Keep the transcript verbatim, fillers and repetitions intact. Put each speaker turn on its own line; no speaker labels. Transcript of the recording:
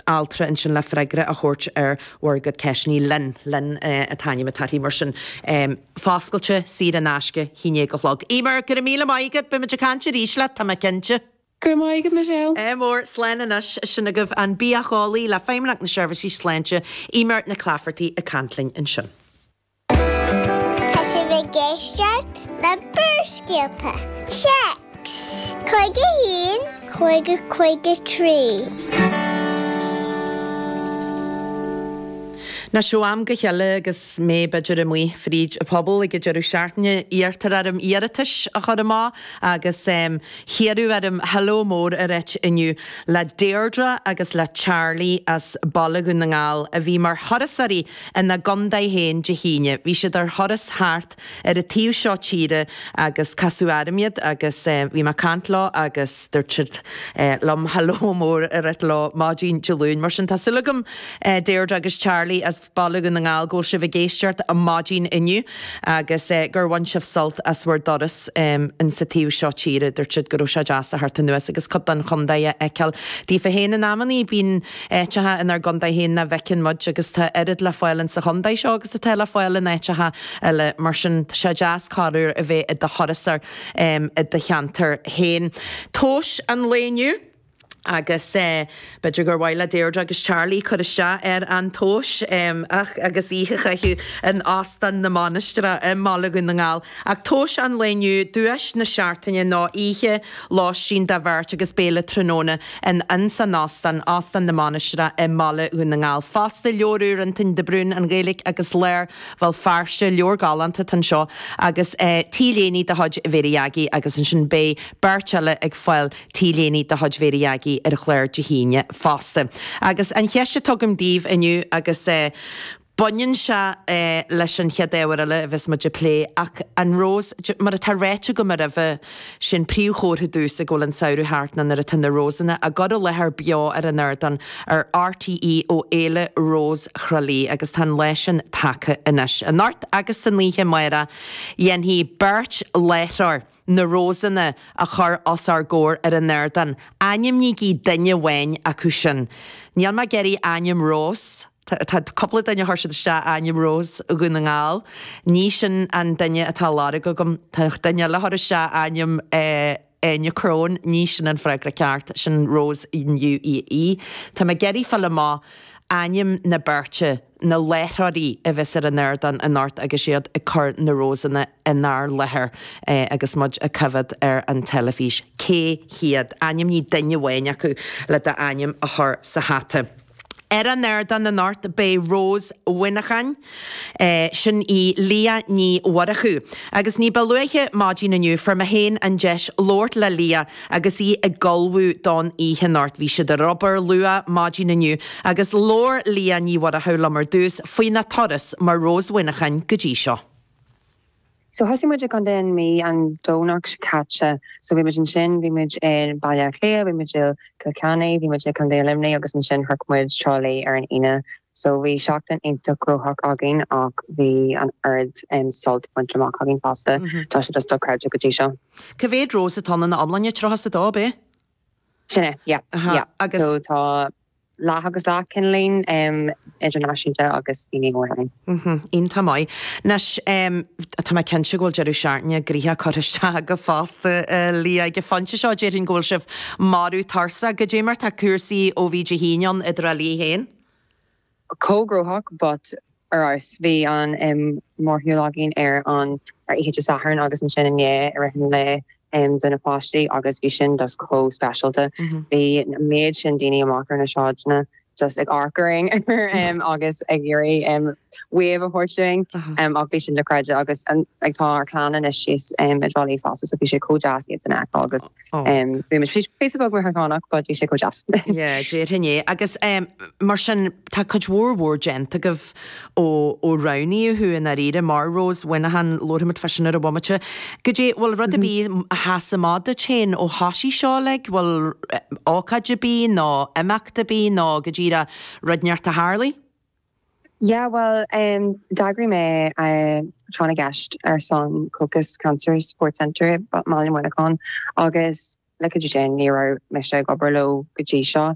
altra ansin le freagra a thabhairt ar bhur gcuid ceisteanna. Lynn, Lynn an t-ainm atá uirthi, mar sin foscailte, saor in aisce, haon déag a chlog. Eimear, go raibh míle maith agat, beidh muid ag caint arís leat, tá mé cinnte.
Go raibh maith agat, Michelle.
Ádh mór, slán anois, sin agaibh an bitheolaí le Feidhmeannacht na Seirbhísí Sláinte, Eimear Nic Laifeartaigh ag caint linn ansin.
Tá sibh ag éisteacht le Barrscéalta. Téacs cúig a haon cúig a cúig a trí.
Anois ó am go chéile agus mé b'fhéidir amuigh fríd an phobal ag an deireadh seachtaine iarrtar orm iarratais a chur amach agus hiarradh orm hello mór a ráit inniu le Deirdre agus le Charlie as Baile Dhún na nGall a bhí mar thurasóirí ina gcontae féin Dé hAoine. Bhí siad ar thuras thart ar an taobh seo tíre agus casadh orm iad agus bhí mé ag caint leo agus dúirt siad liom hello mór a ráit leo maidin Dé Luain. Mar sin tá súil agam Deirdre agus Charlie as Baile Dhún na nGall go bhfuil sibh ag éisteacht maidin inniu agus gur bhain sibh sult as bhur dturas in sa taobh seo tíre. Dúirt siad go raibh sé deas a theacht anuas agus cuid den chontae a fheiceáil daofa féin. In amannaí bíonn áiteacha inár gcontae féin nach bhfeiceann muid agus tá oiread le fáil in sa chontae seo agus atá le fáil in áiteacha eile. Mar sin tá sé deas corruair a bheith i do thurasóir i do cheantar féin. Tomhas an lae inniu. Agus b'fhéidir gur mhaith le Deirdre agus Charlie cur isteach ar an tomhas ach agus oíche a chaitheamh in Óstán na Mainistreach i mBaile Dhún na nGall. Ach tomhas an lae inniu, duais na seachtaine ná oíche lóistín do bheirt agus béile tráthnóna in ins an óstán, Óstán na Mainistreach i mBaile Dhún na nGall. Fosta, leabhar úr Antoin de Brún, An Ghaeilge agus Lár Bhéal Feirste, leabhar galánta atá anseo, agus T-léine de chuid Mhéirí Aggie agus ansin beidh beirt eile ag fáil T-léine de chuid Mhéirí Aggie ar an chlár Dé hAoine fosta. Agus an cheist atá agam daoibh inniu agus baineann sé leis an chéad ábhar eile a bheas muid ag plé ach an Rose, mar atá ráite agam roimhe, sin príomhchomhartha domhsa go bhfuil an samhradh thart ná nuair atá na Rosanna á gcur i láthair beo ar an ardán ar RTÉ ó Fhéile Rós Thrá Lí agus tá an lá sin tagtha anois. Anocht agus san oíche amárach dhéanfaidh beirt láithreoir na Rósanna a chur os ár gcomhair ar an ardán. Ainmnígí duine amháin acu sin. Níl mé ag iarraidh ainm Rós. Tá cúpla duine a chuir siad isteach ainm Rós Dhún na nGall. Ní sin an duine atá á lorg agam. Tá duine eile a chuir isteach ainm Áine Crone. Ní sin an freagra ceart. Sin Rose in UAE. Tá mé ag iarraidh fáil amach ainm na beirte, na láithreoirí a bheas ar an ardán anocht agus iad ag cur na Rósanna inár láthair agus muid ag coimhéad ar an teilifís. Cé hiad? Ainmnigh duine amháin acu le d'ainm a chur sa hata. Ar an ardán anocht beidh Rós Mhuineacháin. Sin í Liadh Ní Mhurchú. Agus ní ba luaithe maidin inniu fuair mé féin an deis labhairt le Liadh agus í ag ullmhú don oíche anocht. Bhí siad ar obair luath maidin inniu agus labhair Liadh Ní Mhurchú liom ar dtús faoina turas mar Rós Mhuineacháin go dtí seo.
So thosaigh muid i gContae na Mí an Domhnach seo caite. So bhí muid ansin, bhí muid i Baile Átha Cliath, bhí muid i Cill Chainnigh, bhí muid i Contae Luimnigh agus ansin shroich muid Trá Lí ar an Aoine. So bhí seachtain iontach gnóthach againn ach bhí an oiread sult bainte amach againn fosta. Tá sé just dochreidte go dtí seo.
Cá mhéad rós atá ann ina iomláine? Tríocha is a dó, ab é?
Sin é, yeah, yeah.
Agus.
So tá leath agus leath cineáilín idirnáisiúnta agus daoine móra ann.
Iontach maith. Anois, tá mé cinnte go bhfuil deireadh seachtaine gnoitheach curtha isteach agaibh fosta, a Liadh. Ag an phointe seo, déarfainn go bhfuil sibh marbh tuirseach. Goidé mar tá cúrsaí ó bhí Dé hAoine ann i dTrá Lí féin?
Chomh gnóthach but ar fheabhas. Bhí an mórshiúl againn ar an ar oíche Dé Sathairn agus ansin inné i rith an lae do na páistí agus bhí sin just chomh speisialta. Bhí an méid sin daoine amach ar na sráideanna just ag amharc orainn agus ag iarraidh wave a thabhairt dúinn ach bhí sin dochreidte agus like tá ár clann anois síos i dTrá Lí fosta so bhí sé chomh deas iad san a fheiceáil agus bhí muid píosa beag míorchánach but bhí sé chomh deas.
Yeah, déarfainn é. Agus mar sin tá cuid mhór mhór déanta agaibh ó ó roghnaíodh thú i ndáiríre mar Rós Mhuineacháin, labharfaimid fá sin ar an bhomaite. Goidé, bhfuil rud ar bith a sheas amach duit féin ó thoisigh seo uilig? Bhfuil ócáid ar bith nó imeacht ar bith nó go díreach rud inteacht a tharlaigh?
Yeah, bhuel, d'eagraigh mé tráth na gceist ar son Cocas Cancer Support Centre i mBaile Mhuineacháin agus le cuidiú Dé ní raibh mise ag obair leo go dtí seo.